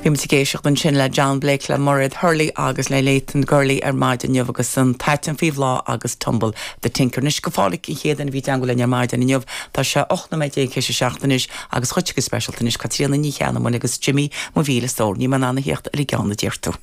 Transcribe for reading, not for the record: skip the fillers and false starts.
Bhí muid ag éisteacht ansin le John Blake, le Mairéad Hurley agus le Leighton Gurley ar maidin inniu agus an t-aiteann faoi bhláth agus Tumble the Tinker. Anois go fóillíoch an chéad duine a bhí i dteangmháil linn ar maidin inniu, tá sé 18 nóiméad théis a 7 anois agus dhuitse go speisialta anois Caitríona Ní Cheannabháin agus Jimí mo mhíle stór, níl mé in ann a theacht ar an gceann a deir tú.